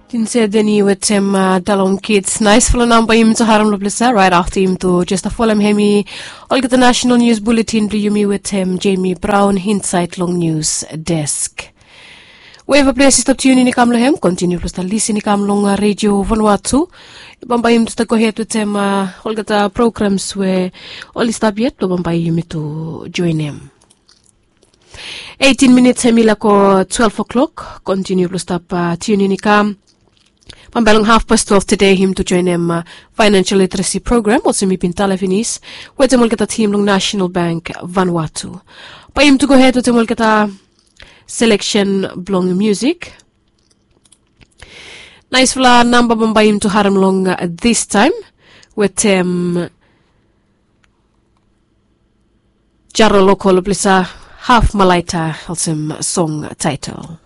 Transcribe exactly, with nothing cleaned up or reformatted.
Tin se deni wetem dalong kids nais fala namba yumi tu haram lo plesa right afta yumi tu jesta folem hemi olgeta national news bulletin blo yumi wetem Jamie Brown insait long news desk. Weva ples i stap tiun in i kam long hem kontiniu ples ta lisin i kam long redio vanua tu. Bambae yumi tu ta gohed wetem olgeta programs we oli stap yet blo bambae yumi tu joinem. Eighteen minits hemi lako twelve o'clock kontiniu blong stap tiunin i kam. Bambae long haf pas twelve tede him tu joinim financial literacy program olsem mi bin tale finis wetem olgeta tim long national bank vanua tu. Bae him tu gohed wetem olgeta seleksen blong musik. Naisfala namba bambae him tu harim long this time wetem jaro lokol blisa haf malaita olsem song taitel.